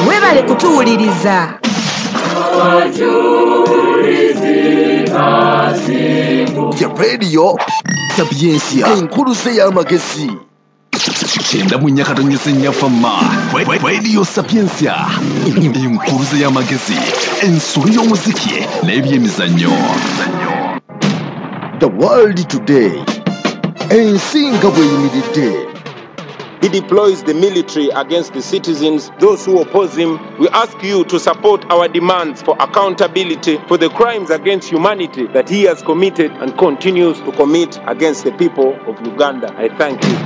Webale kutuwuliriza. Ya Radio Sapientia, enkuluze y'amagezi. 94.4 Fama Radio Sapientia, enkuluze y'amagezi, ensolo y'omuziki n'ebyemizannyo. The World Today, ensi nga bw'eyimiridde. He deploys the military against the citizens, those who oppose him. We ask you to support our demands for accountability for the crimes against humanity that he has committed and continues to commit against the people of Uganda. I thank you.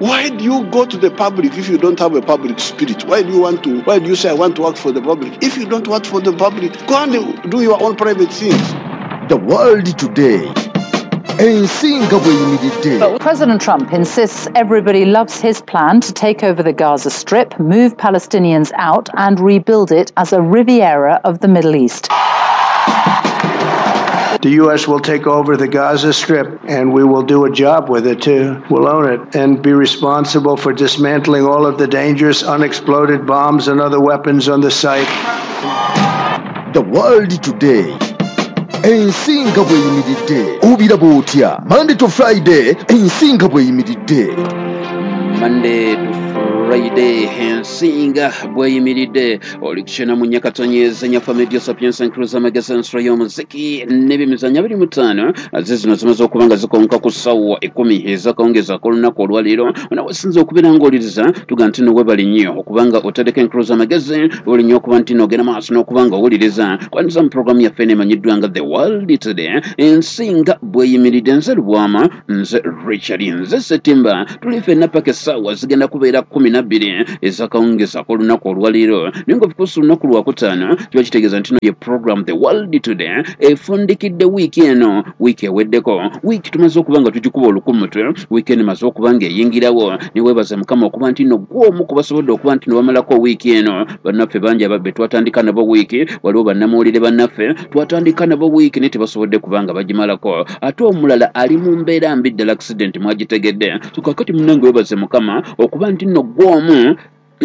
Why do you go to the public if you don't have a public spirit? Why do you want to? Why do you say I want to work for the public? If you don't work for the public, go and do your own private things. The World Today. Ensi nga bw'eyimiridde. But President Trump insists everybody loves his plan to take over the Gaza Strip, move Palestinians out and rebuild it as a Riviera of the Middle East. The U.S. will take over the Gaza Strip, and we will do a job with it, too. We'll own it and be responsible for dismantling all of the dangerous unexploded bombs and other weapons on the site. The World Today. Ensi nga bw'eyimiridde. Obiraba otya? Monday to Friday, ensi nga bw'eyimiridde. Monday to Friday, ensi nga bw'eyimiridde. Oli kukyena mu nyakatonyeza nyafa Radio Sapientia Cruiser Magazine ensolo y'omuziki n'ebyemizannyo 25 ze zino zimaze okuba nga zikonka ku ssaawa 10 ez'akawungeezi ak'olunaku olwaleero. Onawesinza okubeera ng'owuliriza tuga nti nno weebale nnyo okubanga otereka Cruiser Magazine, weebale nnyo okuba nti nno ogenda maaso n'okuba nga owuliriza. Kwaniriza mu pulogulaamu yaffe eno emanyiddwa nga The World Today, ensi nga bw'eyimiridde. Nze Lubwama, nze Richard, nze Ssetimba. Tuli ffenna paka essaawa zigenda kubeera 12 ez'akawungeezi ak'olunaku olwaleero. Naye nga of course olunaku lwakutaano kiba kitegeeza nti no ye program The World Today efundikidde wiiki eno, wiiki eweddeko, wiiki tumaze okuba nga tugikuba olukumutwe, wiiki eno emaze okuba nga eyingirawo. Neweebaza Mukama okuba nti nno gwe omu ku basobodde okuba nti no bamalako wiiki eno. Bannaffe bangi be twatandika nabo wiiki, waliwo bannamawulire bannaffe twatandika nabo wiiki naye tebasobodde kuba nga bagimalako. Ate omulala ali mu mbeera mbi ddala, accident mwagitegedde. So kaakati munnange weebaze Mukama okuba nti nno gwe omu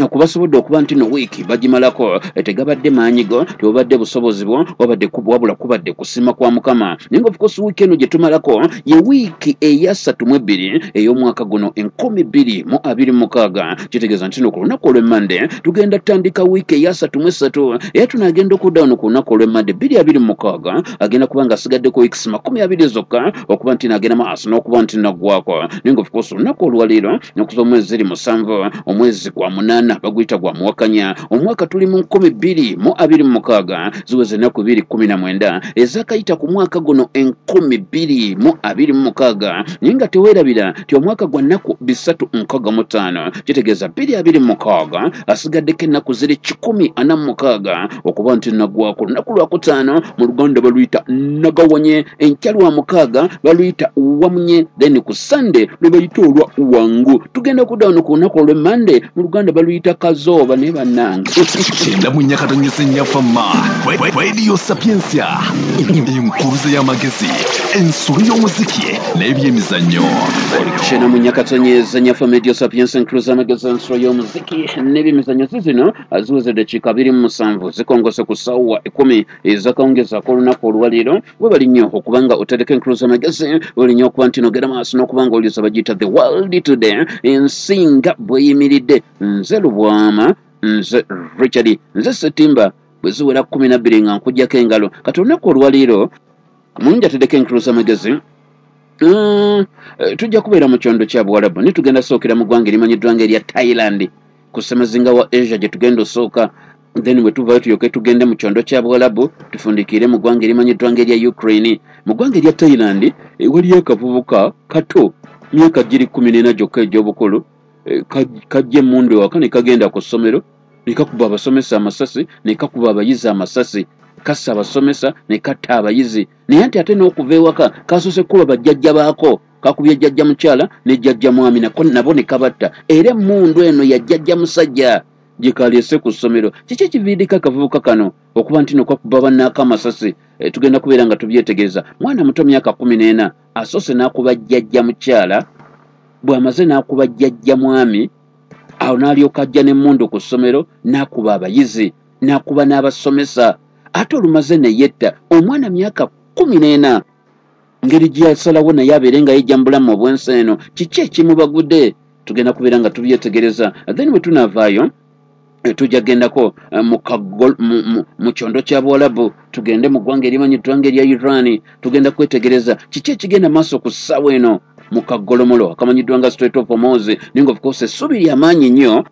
okubasobodde okuba nti no wiiki bagimalako. Tegabadde maanyi go, tebubadde busobozi bwo, wabadde wabula kubadde kusima kwa Mukama. Naye nga of course wiiki eno gye tumalako ye wiiki eya 32 ey'omwaka guno 2026. Kitegeeza nti no ku lunaku olw'Emmande tugenda tutandika wiiki eya 33, era tunaagenda okudda wano ku lunaku olw'Emmande 2026, agenda kuba nga asigaddeko wiikisi 20 zokka okuba nti naagenda maaso n'okuba nti naggwako. Naye nga of course olunaku olwaleero nokuza omwezi ziri 7, omwezi gwa 8, baguyita gwa muwakanya, omwaka tuli mu 2026, ziweze ennaku 219 ezakayita ku mwaka guno 2026. Naye nga teweerabira nti omwaka gwa nnaku 365, kitegeeza 2026 asigaddeko ennaku ziri 146 okuba nti naggwako. Olunaku lwakutaano mu Luganda baluyita nagawanye, enkya lwa mukaaga baluyita wamunye, then ku Sande lwe bayita olwa wangu. Tugenda kudda wano ku lunaku olw'Emmande, mu Luganda baluyita kazooba. Naye bannange, 94.4 Fama Radio Sapientia, enkuluze y'amagezi, ensolo y'omuziki n'ebyemizannyo. Oli kukyena mu nyakatonyeza nyafa Radio Sapientia Cruiser Magazine ensolo y'omuziki n'ebyemizannyo. Zizino ziweze eddakiika 27 zikongose ku ssaawa 10 ez'akawungeezi ak'olunaku olwaleero. Webali nnyo okubanga otereka Cruiser Magazine, webali nnyo okuba nti nogenda maaso n'okuba nga owuliriza. Bagiyita The World Today, ensi nga bw'eyimiridde. Nze Lubwama, nze Richard, nze Ssetimba. Bwe ziwera 12 nga nkuggyako engalo. Kati olunaku olwaleero mulungi ateddeko Encruiser Magazine, tujja kubeera mu kyondo kya Buwalabu, naye tugenda sookera mu ggwanga erimanyiddwa nga erya Thailand, ku ssemazinga wa Asia gye tugenda osooka. Then bwe tuvayo tulyoke tugende mu kyondo kya Buwalabu, tufundikiire mu ggwanga erimanyiddwa nga erya Ukraine. Mu ggwanga erya Thailand waliyo akavubuka kato, myaka giri 14 gyokka egy'obukulu, kajja emmundu ewaka ne kagenda ku ssomero ne kakuba abasomesa amasasi, ne kakuba abayizi amasasi, kassa abasomesa ne katta abayizi. Naye nti ate n'okuva ewaka kasoose kuba bajjajja baako, kakubye jjajja mukyala ne jjajja mwami nako nabo ne kabatta. Era emmundu eno ya jjajja musajja gye kaleese ku ssomero. Kiki ekiviiriddeko akavubuka kano okuba nti no kakuba bannaako amasasi? Tugenda kubeera nga tubyetegereza. Mwana muto, myaka 14, asoose n'akuba jjajja mukyala, bw'amaze n'akuba jjajja mwami. Awo n'alyoka ajja n'emmundu ku ssomero n'akuba abayizi, n'akuba n'abasomesa, ate olumaze ne yetta omwana myaka 14. Ngeri gye yasalawo naye abeere nga yejja mu bulamu obw'ensi eno, kiki ekimubagudde? Tugenda kubeera nga tubyetegereza. Then bwe tunaavaayo tujja gendako mu kyondo kya Buwalabu, tugende mu ggwanga erimanyiddwa nga erya Iran. Tugenda kwetegereza kiki ekigenda maaso ku ssaawa eno mu kagolomolo akamanyiddwa nga Strait of Hormuz. Naye nga of course essuubi lyamaanyi nnyo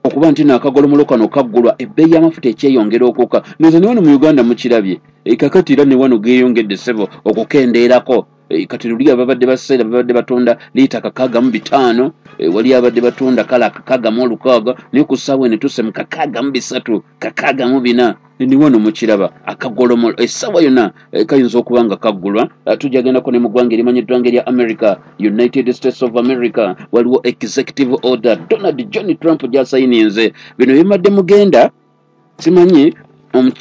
okuba nti naakagolomolo kano kaggulwa, ebbeeyi y'amafuta ekyeyongera okukka. Nze ne wano mu Uganda mukirabye, kakati era ne wano geeyongedde ssebo okukendeerako. Kati luli ababadde baseera babadde batunda liita 65, wali abadde batunda kala 66, naye ku ssaawa eno tuse mu 63, 64. Ni wano mukiraba akagolomolo essaawa yonna kayinza okuba nga kaggulwa. Tujja gendako ne mu ggwanga erimanyiddwa nga erya America, United States of America. Waliwo executive order Donald John Trump gy'asayininze. Bino bimadde mugenda simanyi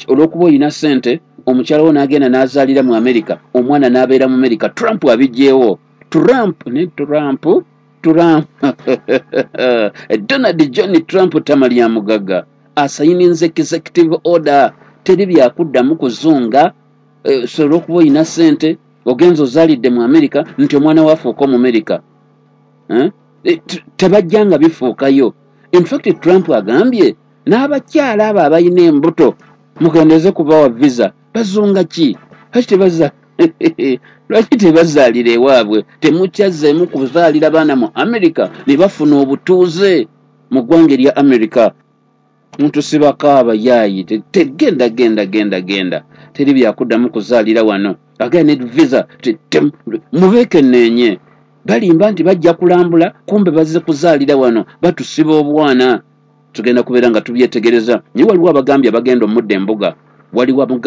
olw'okuba olina ssente, omukyala wo n'agenda n'azaalira mu America, omwana n'abeera mu America. Trump abiggyewo. Trump ne Trump Trump Donald John Trump tamalya mugagga asayininze executive order, teri byakuddamu kuzunga. So olw'okuba olina ssente ogenza ozaalidde mu America nti omwana waafuuka Omumerika, tebajjanga bifuukayo. In fact Trump agambye n'abakyala abo abalina embuto mukendeze kubawa visa. Bazunga ki? Lwaki tebazaalira ewaabwe? Temukyazzeemu kuzaalira baana mu America ne bafuna obutuuze mu ggwanga erya America. Mutusibako abayaayi, tegenda genda genda genda, teri byakuddamu kuzaalira wano. Agenda ne visa mubeekenneenye. Balimba nti bajja kulambula, kumbe bazze kuzaalira wano, batusiba obwana. Tugenda kubeera nga tubyetegereza. Naye waliwo abagambye abagenda omudda embuga, waliwo